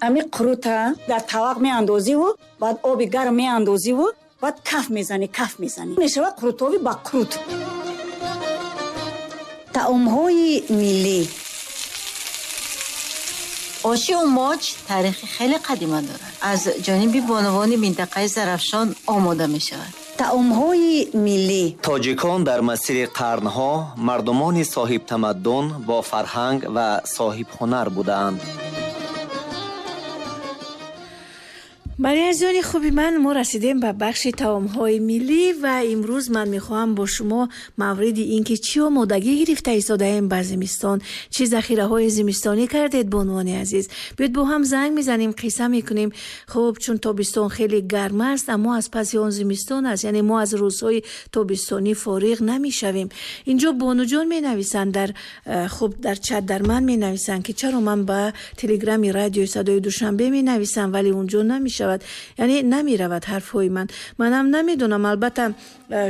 Ами қурута дар тавақ меандозиву баъд оби гарм меандозиву баъд каф мезанӣ, каф мезанӣ. Мешавад қурутоби ба қурут. Таомҳои миллӣ. Оши умоч таърихи хеле қадима дорад. Аз ҷониби бонувони минтақаи Зарафшон омода мешавад. Таомҳои миллӣ. Тоҷикон дар масири қарнҳо мардумони соҳибтамаддун, бо фарҳанг ва соҳибҳунар будаанд. Бале, азизони хуби ман, мо расидем ба бахши таомҳои миллӣ ва имрӯз ман мехоҳам бо шумо мавриди ин ки чӣ омодагӣ гирифта истодаем ба зимистон, чӣ захираҳои зимистонӣ кардед, бонувони азиз. Биёед бо ҳам занг мезанем, қисса мекунем. Хуб, чун тобистон хеле гарм аст, аммо аз паси он зимистон аст, яъне мо аз рӯзҳои тобистонӣ фориғ намешавем. Инҷо бонуҷон менависанд дар хуб, дар чат дар ман менависанд, ки чаро ман ба телеграми радиои Садои Душанбе менависам, вале унҷо намешавад, яъне намеравад ҳарфҳои ман. Манам намедонам, албатта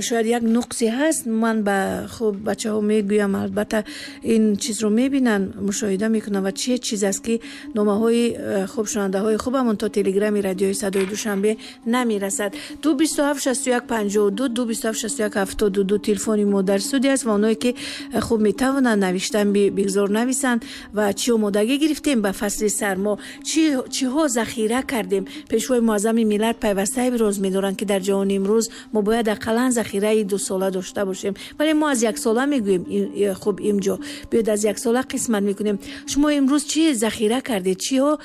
шояд як нуқсе ҳаст. Ман ба хуб бачаҳо мегӯям, албатта ин чизро мебинанд, мушоҳида мекунанд ва чӣ чиз аст, ки номаҳои хуб шунандаҳои хубамон то телеграми радиои Садои Душанбе намерасад. 227 61 52, 227 61 72 телефони мо дар студия аст ва онҳое ки хуб метавонанд навиштан, бигзор нависанд ва чӣ омодагӣ гирифтем ба фасли сармо, чиҳо захира кардем. Пешвои муаззами миллат пайваста иброз медоранд, ки дар ҷаҳони имрӯз мо бояд ақаллан захираи дусола дошта бошем, вале мо аз яксола мегӯем. Хуб, инҷо биёед аз яксола қисмат мекунем. Шумо имрӯз чӣ захира кардед, чиҳо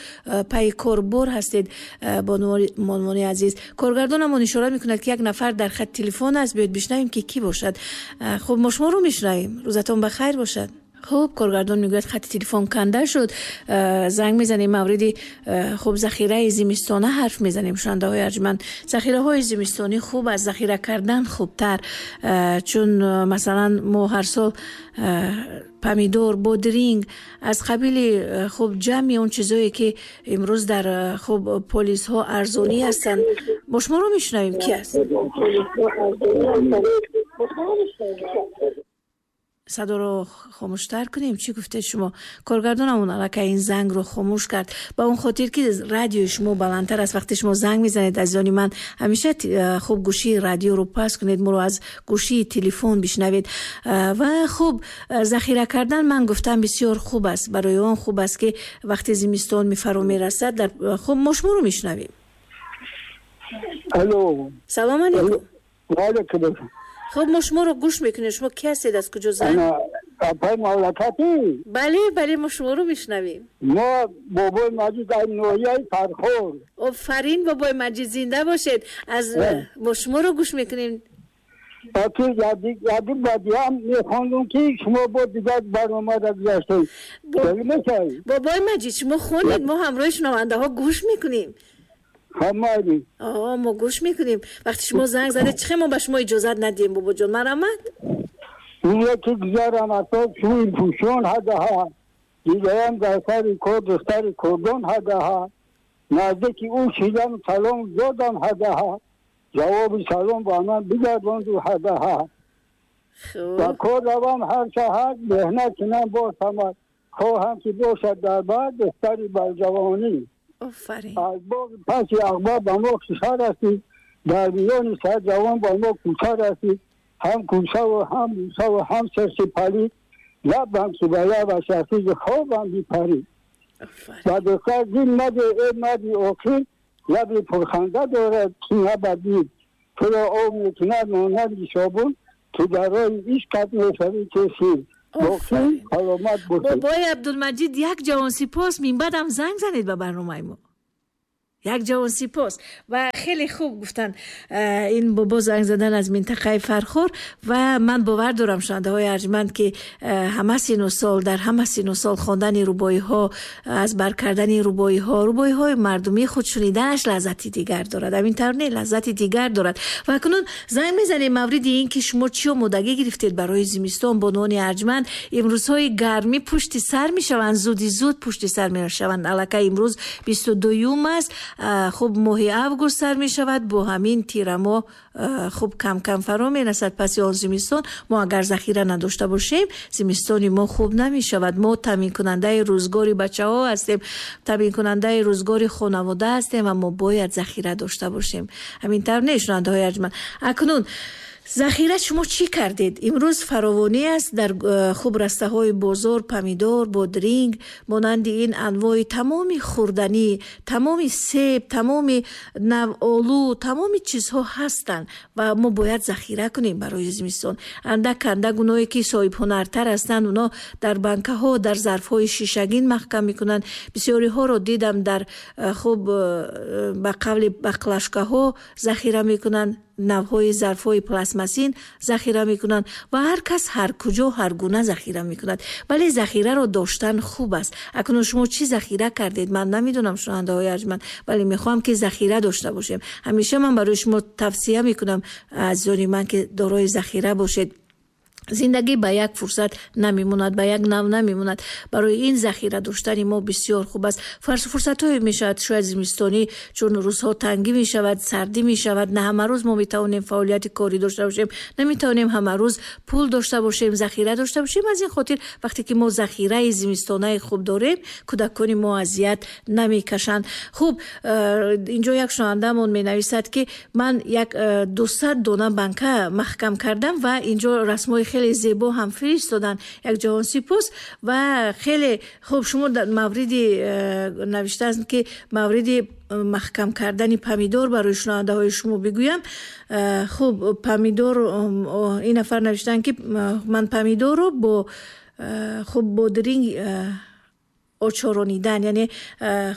пайи корбор ҳастед, бонувони азиз? Коргардонамон ишора мекунад, ки як нафар дар хат телефон аст. Биёед бишнавем, ки кӣ бошад. Хуб, мо шуморо мешунавем. Рӯзатон ба хайр бошад. Хуб, коргардон мегӯяд, хати телефон канда шуд. Занг мезанем, мавриди хуб захираи зимистона ҳарф мезанем. Шунандаҳои арҷманд, захираҳои зимистонӣ хуб аст, захира кардан хубтар, чун масалан мо ҳар сол помидор, бодринг, аз қабили хуб ҷамъи он чизое, ки имрӯз дар хуб полисҳо арзонӣ ҳастанд. Мо шуморо мешунавем, ки аст? Садоро хомӯштар кунем. Чӣ гуфтед шумо? Коргардонамон аллакай ин зангро хомӯш кард ба он хотир, ки радиои шумо баландтар аст. Вақте шумо занг мезанед, азизони ман, ҳамеша хуб гӯшии радиоро паст кунед, моро аз гӯшии телефон бишнавед. Ва хуб, захира кардан, ман гуфтам, бисёр хуб аст. Барои он хуб аст, ки вақте зимистон мефаро мерасад дар хуб мо шуморо мешунавем. Алло. Салом алейкум. Ва алейкум. Хуб, мо шуморо гӯш мекунем. Шумо ки ҳастед, аз куҷо занг? Апай мавлакатӣ? Бале, бале, мо шуморо мешунавем. Мо Бобои Маҷид аз ноҳияи Фархор. Офарин, Бобои Маҷид, зинда бошед. Аз мо шуморо гӯш мекунем. Ки яди бадиам мехондум, ки шумо бо дигар барномада гузаштед. Бобои Маҷид, шумо хонед, мо ҳамроҳи шунавандаҳо гӯш мекунем. Ҳамаи. Мо гӯш мекунем. Вақте шумо занг задед, чӣ мо ба шумо иҷозат надиҳем, бобоҷон? Марҳамат. Яке гузарам аз шӯи пӯшон ҳадаҳа, дидаям дар сари кор духтари курдон ҳадаҳа, наздики ӯ шидам, салом додам ҳадаҳа, ҷавоби салом ба ман бигардонду ҳадаҳа. Ба кор равам ҳар саҳар, меҳнат кунам бо самар, хоҳам ки бошад дар бар духтари барҷавонӣ. Офарин. Аз боғи паси ағба ба мо кишар расид, дар миёни сад ҷавон ба мо кӯча расид, ҳам кӯчаву ҳам бӯсаву ҳам сирси палид, лабам ки ба лабаш расид, хобам бипарид. Ба духтар дил маде, эй марди оқил, лаби пурханда дорад, ки набадид, туро об мекунад монанди собун, ки дар роҳи ишқат мешавӣ тесир. Бобои Абдулмаҷид, як ҷавон сипос. Минбаъдам занг занед ба барномаи мо. Як ҷавон сипос. Ва хеле хуб гуфтанд ин бобо занг задан аз минтақаи Фархор. Ва ман бовар дорам, шунавандаҳои арҷманд, ки ҳама сину сол, дар ҳама сину сол хондани рубоиҳо, аз бар кардани рубоиҳо, рубоиҳои мардумӣ худ шуниданаш лаззати дигар дорад. Ҳамин тавр не, лаззати дигар дорад. Ва акнун занг мезанем мавриди ин ки шумо чӣ омодагӣ гирифтед барои зимистон, бонувони арҷманд. Имрӯзҳои гармӣ пушти сар мешаванд, зуди зуд пушти сар мешаванд. Аллакай имрӯз 22-юм аст. Хуб, моҳи август сар мешавад, бо ҳамин тирамо хуб кам-кам фаро мерасад. Паси он зимистон мо агар захира надошта бошем, зимистони мо хуб намешавад. Мо таъминкунандаи рӯзгори бачаҳо ҳастем, таъминкунандаи рӯзгори хонавода ҳастем ва мо бояд захира дошта бошем. Ҳамин тавр не, шунавандаҳои арҷманд? Акнун захира шумо чӣ кардед? Имрӯз фаровонӣ аст дар хуб растаҳои бозор, помидор, бодринг, монанди ин анвои тамоми хӯрданӣ, тамоми себ, тамоми навъолу, тамоми чизҳо ҳастанд ва мо бояд захира кунем барои зимистон. Андак андак оное ки соҳибҳунартар ҳастанд, оно дар банкаҳо, дар зарфҳои шишагин маҳкам мекунанд. Бисёриҳоро дидам дар хуб ба қавли баклашкаҳо захира мекунанд, навъҳои зарфҳои пластмассин захира мекунанд ва ҳар кас ҳар куҷо ҳар гуна захира мекунад. Вале захираро доштан хуб аст. Акнун шумо чӣ захира кардед? Ман намедонам, шунавандаҳои арҷманд, вале мехоҳам ки захира дошта бошем. Ҳамеша ман барои шумо тавсия мекунам, азизони ман, ки дорои захира бошед. Зиндагӣ ба як фурсат намемонад, ба як нав намемонад. Барои ин захира доштани мо бисёр хуб аст. Фурсатҳое мешавад, шояд зимистонӣ, чун рӯзҳо тангӣ мешавад, сардӣ мешавад, на ҳама рӯз мо метавонем фаъолияти корӣ дошта бошем, наметавонем ҳама рӯз пул дошта бошем, захира дошта бошем. Аз ин хотир вақте ки мо захираи зимистонаи хуб дорем, кӯдакони мо азият намекашанд. Хуб, инҷо як шунавандамон менависад, ки ман як 200 дона банка маҳкам кардам ва инҷо расмҳои хеле зебо ҳам фиристоданд. Як ҷаҳон сипос ва хеле хуб. Шумо дар мавриди навиштааст, ки мавриди маҳкам кардани помидор барои шунавандаҳои шумо бигӯям. Хуб, помидор, ин нафар навиштаанд, ки ман помидорро бо хуб бодринг очоронидан, яъне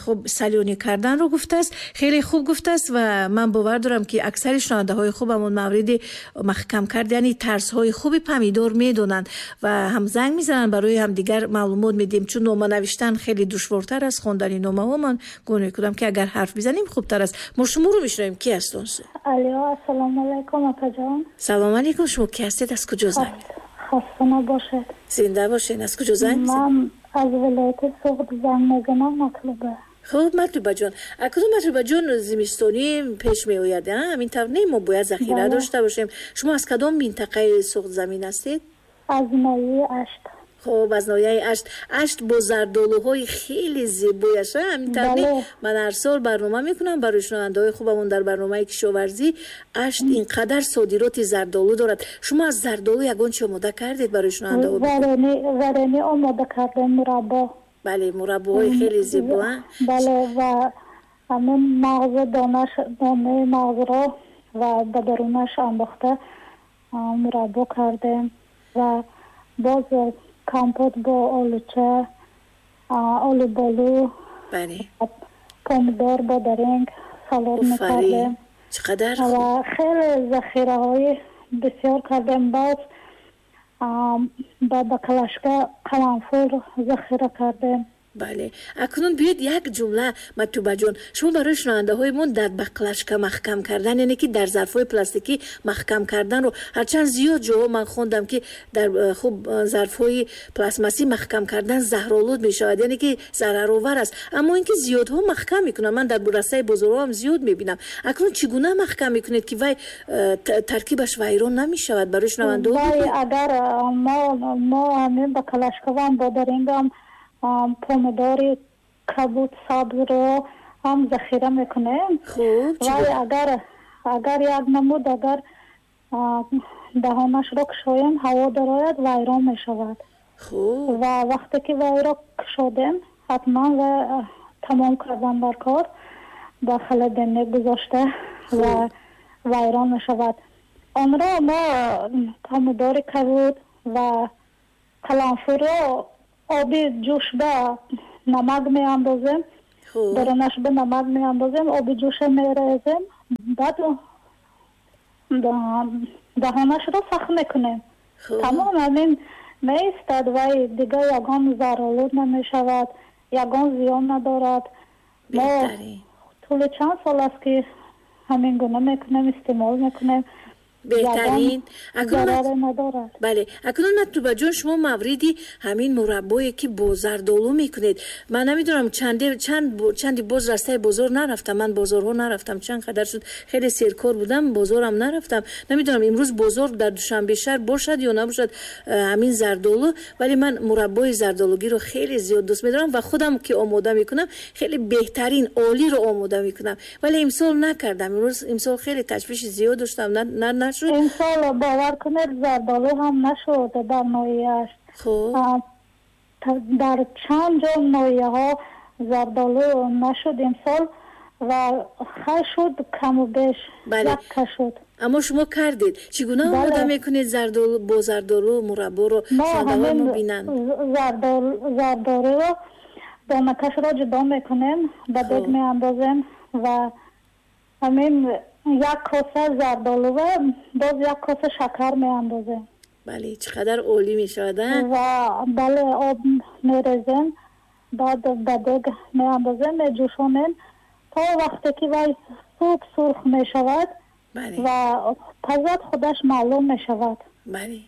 хуб салёнӣ карданро гуфтааст. Хеле хуб гуфтааст ва ман бовар дорам, ки аксари шунавандаҳои хубамон мавриди маҳкам кардани тарзҳои хуби помидор медонанд ва ҳам занг мезананд, барои ҳамдигар маълумот медиҳем, чун нома навиштан хеле душвортар аз хондани номаҳо. Ман гумон мекунам, ки агар ҳарф бизанем, хубтар аст. Мо шуморо мешунавем. Ки аст он? Алё, ассалому алайкум, апаҷон. Салом алайкум. Шумо ки ҳастед, аз куҷо занг? Хаста набошед. Зинда бошед. Аз куҷо занг? Ман аз вилояти Суғд занг мезанам, Матлуба. Хуб, Матлубаҷон, акнун, Матлубаҷон, зимистонӣ пеш меояд, ҳамин тавр не? Мо бояд захира дошта бошем. Шумо аз кадом минтақаи Суғдзамин ҳастед? Аз ноҳияи Ашт. Хуб, аз ноҳияи Ашт. Ашт бо зардолуҳои хеле зебояш, ҳамин тавр не? Ман ҳар сол барнома мекунам барои шунавандаҳои хубамон дар барномаи кишоварзӣ. Ашт ин қадар содироти зардолу дорад. Шумо аз зардолу ягон чи омода кардед барои шунавандаҳо? Варенӣ омода кардем, мураббо. Бале, мураббоҳои хеле зебо. Бале, ва ҳамин мағзи донаш, донаи мағзро ва ба дарунаш андохта мураббо кардем ва боз компот бо олуча, олуболу, помидор, бодаринг салат мекардем. Чӣ қадар ва хеле захираҳои бисёр кардем. Боз ба баклашка қаламфур захира кардем. Бале, акнун биёед як ҷумла, Матлубаҷон, шумо барои шунавандаҳои мо дар баклашка маҳкам кардан, яъне ки дар зарфҳои пластикӣ маҳкам карданро. Ҳарчанд зиёд ҷоҳо ман хондам, ки дар хуб зарфҳои пластмассӣ маҳкам кардан заҳролуд мешавад, яъне ки зараровар аст, аммо ин ки зиёдҳо маҳкам мекунанд, ман дар растаи бозорҳо ҳам зиёд мебинам. Акнун чӣ гуна маҳкам мекунед, ки вай таркибаш вайрон намешавад? Барои шунавандаҳо. Агар мо ҳамин баклашкавам бодарингам, помидори кабуд, сабзро ҳам захира мекунем. Вале агар як намуд, агар даҳонашро кушоем, ҳаво дарояд, вайрон мешавад. Ва вақте ки вайро кушодем, ҳатман ва тамом кардан бар кор, ба холодильник гузошта ва вайрон мешавад. Онро мо помидори кабуд ва қаламфурро оби ҷӯш ба намак меандозем, дарунаш ба намак меандозем, оби ҷӯша мерезем, баъд даҳонашро сахт мекунем. Тамом, ҳамин меистад. Вай дигар ягон заролуд намешавад, ягон зиён надорад. Мо тӯли чанд сол аст, ки ҳамин гуна мекунем, истеъмол мекунем. Беҳтарин. Зараре надорад. Бале, акнун Матлуба ҷон, шумо мавриди ҳамин мураббое ки бо зардолу мекунед, ман намедонам чанди боз растаи бозор нарафтам, ман бозорҳо нарафтам, чанд қадар шуд, хеле серкор будам, бозорам нарафтам, намедонам имрӯз бозор дар Душанбе шаҳр бошад ё набошад ҳамин зардолу, вале ман мураббои зардолугиро хеле зиёд дӯст медорам ва худам ки омода мекунам хеле беҳтарин олиро омода мекунам, вале имсол накардам. Имрӯз имсол хеле ташвиши зиёд доштам, нашуд. Имсол бовар кунед зардолу ҳам нашуд дар ноҳияаш. Дар чанд ҷо ноҳияҳо зардолу нашуд имсол ва хай шуд каму беш, якка шуд. Аммо шумо кардед. Чӣ гуна омода мекунед зардолу, бо зардолу мурабборо шунавандаҳо мебинанд? Зардолуро донакашро ҷудо мекунем, ба дег меандозем ва ҳамин як коса зардолу ва боз як коса шакар меандозем. Бале, чӣ қадар олӣ мешавад, а? Ва бале, об мерезем, баъд ба дег меандозем, меҷӯшонем то вақте ки вай суб сурх мешавад ва пазад худаш маълум мешавад.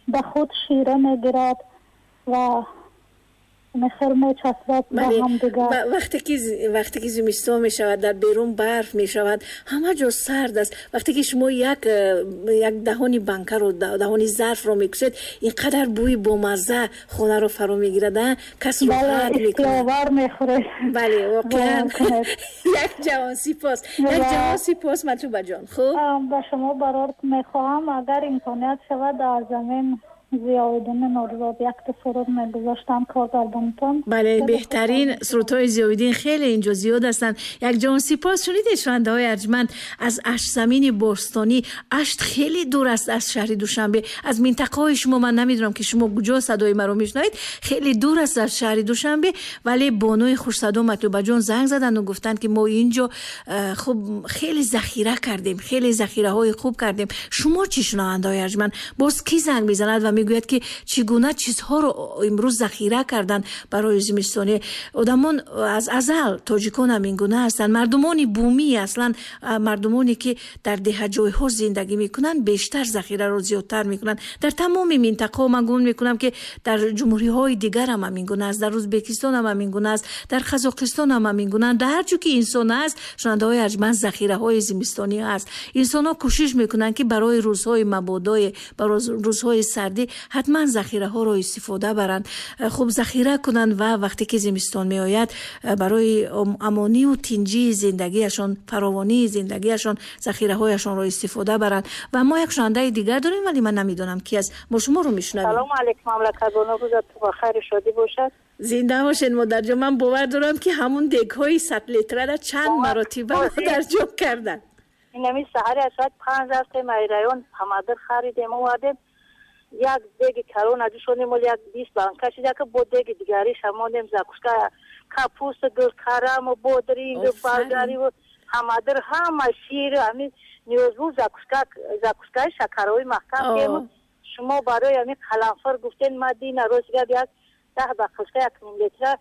Ба худ шира мегирад ва мехел мечаспад ба ҳамдигар. Вақте ки зимистон мешавад, дар берун барф мешавад, ҳама ҷо сард аст. Вақте ки шумо як даҳони банкаро, даҳони зарфро мекушед, ин қадар бӯи бомазза хонаро фаро мегирад, а? Кас роҳат мекунад. Бале, мехӯред. Бале, воқеан. Як ҷавон сипос. Як ҷавон сипос, Матлуба ҷон. Хуб? Ба шумо барор мехоҳам, агар имконият шавад, аз замин Зиёвиддин Нурзод якта суруд мегузоштам коргардонтон. Бале, беҳтарин сурудҳои Зиёвиддин хеле инҷо зиёд ҳастанд. Як ҷон сипос. Шунидед шунавандаҳои арҷманд, аз Аштзамини бостонӣ. Ашт хеле дур аст аз шаҳри Душанбе, аз минтақаҳои шумо. Ман намедонам ки шумо куҷо садои маро мешунавед, хеле дур аст аз шаҳри Душанбе, вале бонуи хушсадо Матлубаҷон занг заданду гуфтанд ки мо инҷо хуб хеле захира кардем, хеле захираҳои хуб кардем. Шумо чӣ, шунавандаҳои арҷманд, боз кӣ занг мезанад ва мегӯяд ки чӣ гуна чизҳоро имрӯз захира карданд барои зимистонӣ? Одамон аз азал, тоҷикон ҳам ин гуна ҳастанд, мардумони бумӣ, аслан мардумоне ки дар деҳаҷойҳо зиндагӣ мекунанд, бештар захираро зиёдтар мекунанд. Дар тамоми минтақаҳо ман гумон мекунам ки дар ҷумҳуриҳои дигар ҳам ҳамин гуна аст, дар Ӯзбекистон ҳам ҳамин гуна аст, дар Қазоқистон ҳам ҳамин гуна. Дар ҳар ҷо ки инсон аст, шунавандаҳои арҷманд, захираҳои зимистонӣ аст. Инсонҳо кӯшиш мекунанд ки барои рӯзҳои мабодое, барои рӯзҳои сардӣ ҳатман захираҳоро истифода баранд, хуб захира кунанд ва вақте ки зимистон меояд барои амонию тинҷии зиндагиашон, фаровонии зиндагиашон захираҳояшонро истифода баранд. Ва мо як шунавандаи дигар дорем, вале ман намедонам ки аст. Мо шуморо мешунавем. Салому алейкум, мамлакатбону, рӯзатон ба хайру шодӣ бошад. Зинда бошед, модарҷон. Ман бовар дорам ки ҳамун дегҳои 100 литрара чанд маротиба модарҷон карданд. Инами саҳари аз соат 5 рафтем ай район, помадир харидем, овардем. Як деги калон аҷушонем, оли як 20 банка шида, ки бо деги дигариш ҳамонем закуска, капуста, гулкараму, бодринг, болгариву, ҳамадир, ҳама шир, ҳамин ниёзбу закуска, закускаи шакарҳои маҳкам кему. Шумо барои ҳамин қаламфур гуфтен, ма дина рӯз гап як 10 бақушка як ним литра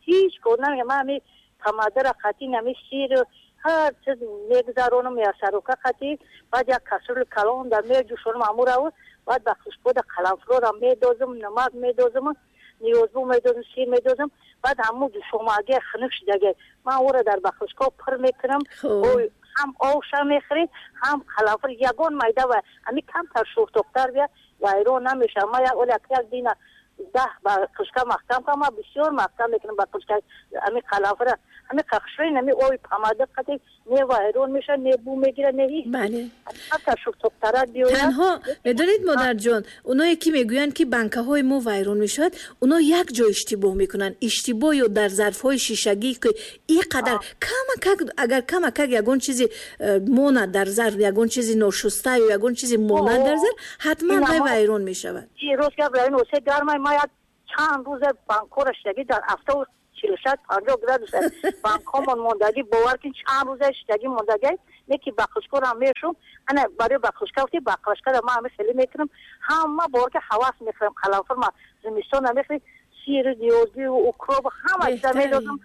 ҳеҷ кор намекунам. Ман ҳамин помадира қатин ҳамин шир ҳар чиз мегузаронам, ясарука қатӣ, баъд як касрули калон дар меҷӯшонам ҳамураву, баъд ба хушкода қаламфурора медозам, намак медозам, ниёзбу медозам, шир медозам, баъд ҳамун ҷӯшомаги хунук шудаги ман ӯро дар бахушко пур мекунам. Ҳам овша мехӯред, ҳам қаламфур, ягон майда ва ҳамин камтар шӯртоқтар бия вайрон намешавад. Ман як дина 10 бақушка маҳкам кардам, ман бисёр маҳкам мекунам бақушка ҳамин қаламфура, ҳамин қахшрин, ҳамин оби помада қати не вайрон мешавад, не бу мегирад, не ҳеҷ. Бале. Камтар шӯртоқтарак биёяд. Танҳо медонед, модарҷон, оное ки мегӯянд ки банкаҳои мо вайрон мешавад, оно як ҷо иштибоҳ мекунанд. Иштибоҳ ё дар зарфҳои шишагӣ ки ин қадар камакак, агар камакак ягон чизи монад дар зарф, ягон чизи ношуста ё ягон чизи монад дар зарф, ҳатман вай вайрон мешавад. Рост гап, район осе гармай, ма як чанд рӯза банкора шидаги дар автобус 46-50 градус банкомон мондагӣ, бовар кун чанд рӯза шидаги мондагӣ, не ки бақушкора мешум, ана барои бақушка гуфти, бақушкара ман ҳамин хеле мекунам, ҳама бовар ки ҳавас мехӯрам, қаламфур ма зимистон мехӯрем, сир, ниёзбӣ, укроп ҳама чиза медозам,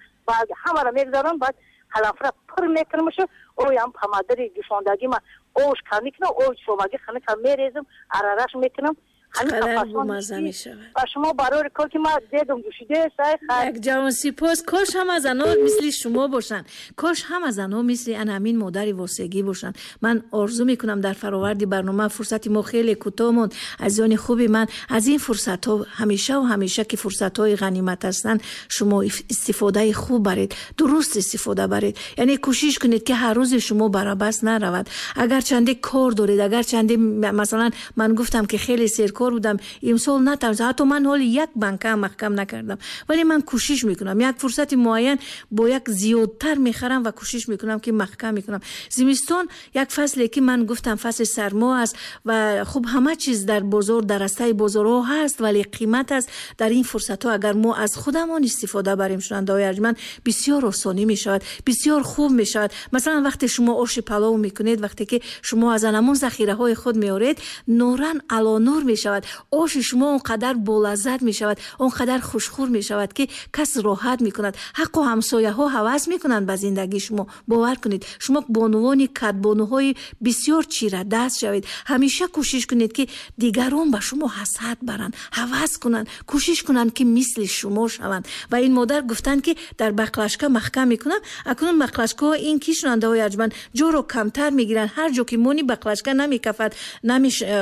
ҳамаро мегузарам, баъд қаламфура пур мекунамшу, оям помадири ҷӯшондагӣ ма Ош кам мекунам, ош сомаги ханика мерезам, арараш мекунам. Чақадар бомазза мешавад. Ва шумо барои кор ки ман дедам ҷӯшида сай хай. Як ҷавон сипос. Кош ҳама занҳо мисли шумо бошанд. Кош ҳама занҳо мисли ана ҳамин модари восегӣ бошанд. Ман орзу мекунам дар фароварди барнома, фурсати мо хеле кӯтоҳ монд. Азизони хуби ман, аз ин фурсатҳо ҳамеша ва ҳамеша ки фурсатҳои ғанимат ҳастанд, шумо истифодаи хуб баред, дуруст истифода баред. Яъне кӯшиш кунед ки ҳар рӯзи шумо барабас наравад. Агар чанде кор доред, агар чанде, масалан, ман гуфтам ки хеле серкор будам, имсол натавонистам, ҳатто ман ҳоли як банка ҳам маҳкам накардам, вале ман кӯшиш мекунам як фурсати муайян бо як зиёдтар мехарам ва кӯшиш мекунам ки маҳкам мекунам. Зимистон як фасле ки ман гуфтам фасли сармо аст ва хуб ҳама чиз дар бозор, дар растаи бозорҳо ҳаст, вале қимат аст. Дар ин фурсатҳо агар мо аз худамон истифода барем, шунавандаҳои арҷманд, бисёр осонӣ мешавад, бисёр хуб мешавад. Масалан, вақте шумо оши палов мекунед, вақте ки шумо аз анамон захираҳои худ меоред, нуран алонур мешавад. Оши шумо он қадар болаззат мешавад, он қадар хушхӯр мешавад ки кас роҳат мекунад. Ҳаққу ҳамсояҳо ҳавас мекунанд ба зиндагии шумо. Бовар кунед, шумо бонувони кадбонуҳои бисёр чирадаст шавед. Ҳамеша кӯшиш кунед ки дигарон ба шумо ҳасад баранд, ҳавас кунанд, кӯшиш кунанд ки мисли шумо шаванд. Ва ин модар гуфтанд ки дар бақлашка маҳкам мекунам. Акнун бақлашкаҳо ин ки шунандаҳои арҷманд ҷоро камтар мегиранд. Ҳар ҷо ки мони бақлашка намекафад,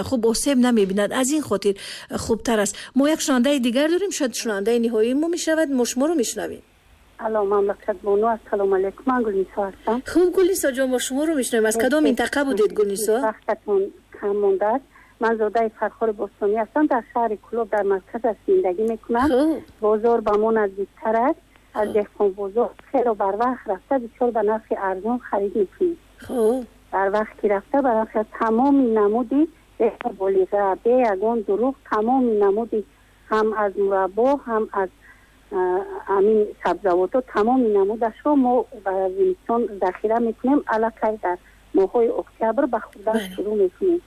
хуб осеб намебинад. Аз ин хотир хубтар аст. Мо як шунандаи дигар дорем, шояд шунандаи ниҳоии мо мешавад. Мо шуморо мешунавем. Алло, мамлакат бону, ассалому алайкум, ман Гулнисо ҳастам. Хуб, Гулнисо ҷон, мо шуморо мешунавем. Аз кадом минтақа будед, Гулнисо? Вақтатон кам мондааст. Ман зодаи Фархори Бостонӣ ҳастам, дар шаҳри Кӯлоб дар марказаш зиндагӣ мекунам. Бозор ба мо наздиктар аст. Аз деҳқон бозор хело барвақт рафта бисёр ба нархи арзон харид мекунем. Барвақт ки рафта ба нархи тамоми намуди болиға, бе ягон дурӯғ, тамоми намуди ҳам аз мураббо, ҳам аз ҳамин сабзавотҳо, тамоми намудашро мо ба зимистон захира мекунем. Аллакай дар моҳҳои октябр ба хӯрдан шурӯъ мекунем.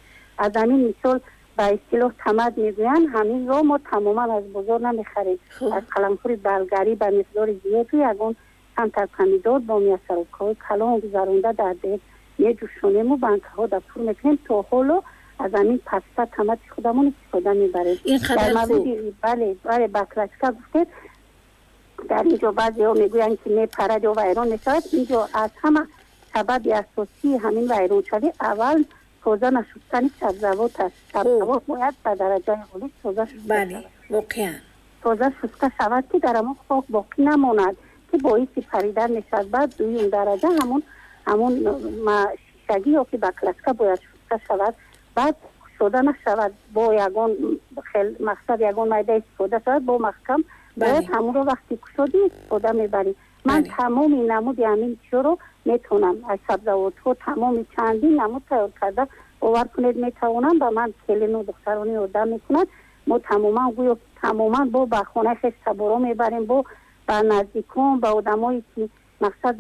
Аз ҳамин мисол ба истилоҳ тамад мегӯянд, ҳаминро мо тамоман аз бозор намехарем. Аз қаламфури балгарӣ ба миқдори зиёду ягон камтар помидор бо миасарокҳои калон гузаронда дар деҳ меҷӯшонему банкаҳо дар пур мекунем. То ҳоло аз ҳамин паста тамати худамон истифода мебарем. Ин қадар хуб. Бале, бале, баклажка гуфтед. Дар инҷо баъзеҳо мегӯянд ки мепарад ё вайрон мешавад. Инҷо аз ҳама сабаби асосии ҳамин вайроншавӣ аввал тоза нашустани сабзавот аст. Сабзавот бояд ба дараҷаи олӣ тоза шуста. Бале, воқеан. Тоза шуста шавад ки дар ҳамон хок боқӣ намонад ки боиси паридан мешавад. Баъд дуюм дараҷа ҳамон шишагӣ ё ки баклажка бояд шуста шавад. Баъд кушода нашавад, бо ягон мақсад ягон майда истифода шавад, бо маҳкам бояд ҳамонро вақти кушодӣ истифода мебарӣ. Ман тамоми намуди ҳамин чизро метавонам аз сабзавотҳо тамоми чандин намуд тайёр карда, бовар кунед метавонам. Ба ман келину духтарони ёрдам мекунад. Мо тамоман гӯё тамоман бо ба хонаи хеш таборо мебарем, бо ба наздикон, ба одамое ки мақсад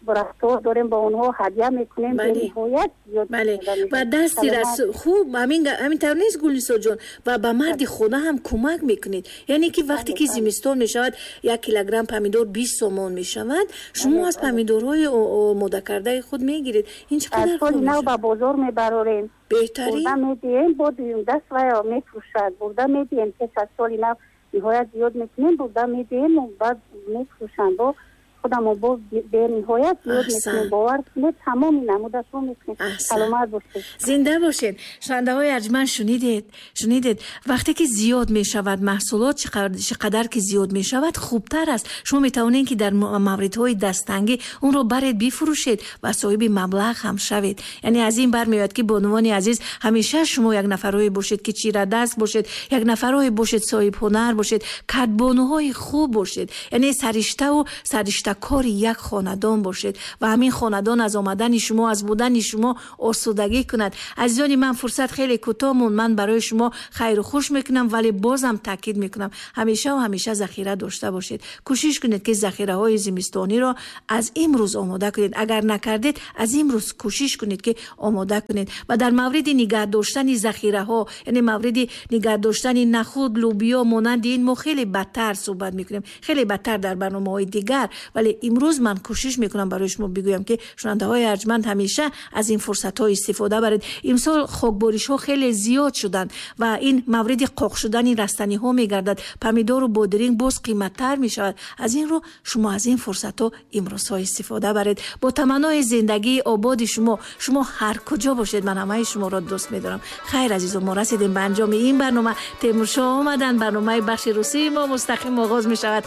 рафтор дорем, ба онҳо ҳадя мекунем. Бениҳоят зиёд. Бале, ва дасти рас хуб, ҳамин тавр нест, Гулнисо ҷон? Ва ба марди хона ҳам кӯмак мекунед. Яъне ки вақте ки зимистон мешавад, 1 килограмм помидор 20 сомон мешавад, шумо аз помидорҳои омодакардаи худ мегиред. Ин чӣ қадар хуб мешавад? Нав ба бозор мебарорем, беҳтарин. Бурда медиҳем, бо дуюм даст вая мефурӯшад. Бурда медиҳем пеш аз соли нав ниҳоят зиёд мекунем, бурда медиҳем, баъд мефурӯшанд. Бо худамо боз бениҳоят зиёд мекунем. Бовар кунед, тамоми намудашро мекунем. Саломат бошед, зинда бошед. Шунавандаҳои арҷманд, шунидед, вақте ки зиёд мешавад маҳсулот, чӣ қадар ки зиёд мешавад хубтар аст. Шумо метавонед ки дар мавридҳои дастангӣ онро баред бифурӯшед ва соҳиби маблағ ҳам шавед. Яъне аз ин бармеояд ки бонувони азиз, ҳамеша шумо як нафарҳое бошед ки чирадаст бошед, як нафарҳое бошед соҳибҳунар бошед, кадбонуҳои хуб бошед, яъне сариштаву саришта кори як хонадон бошед ва ҳамин хонадон аз омадани шумо, аз будани шумо осудагӣ кунад. Азизони ман, фурсат хеле кӯтоҳ монд. Ман барои шумо хайру хуш мекунам, вале бозам таъкид мекунам, ҳамеша ва ҳамеша захира дошта бошед. Кӯшиш кунед ки захираҳои зимистониро аз имрӯз омода кунед. Агар накардед, аз имрӯз кӯшиш кунед ки омода кунед. Ва дар мавриди нигаҳ доштани захираҳо, яъне мавриди нигаҳ доштани нахуд, лӯбиё монанди ин, мо хеле бадтар суҳбат мекунем, хеле бадтар дар барномаҳои дигар. Вале имрӯз ман кӯшиш мекунам барои шумо бигӯям, ки, шунавандаҳои арҷманд, ҳамеша аз ин фурсатҳо истифода баред. Имсол хокборишҳо хеле зиёд шуданд ва ин мавриди қоқ шудани растаниҳо мегардад. Помидору бодиринг боз қиматтар мешавад. Аз ин рӯ шумо аз ин фурсатҳо имрӯзҳо истифода баред. Бо таманнои зиндагии ободи шумо, шумо ҳар куҷо бошед, ман ҳамаи шуморо дӯст медорам. Хайр, азизон, мо расидем ба анҷоми ин барнома. Темуршоҳ омаданд, барномаи бахши русии мо мустақим оғоз мешавад.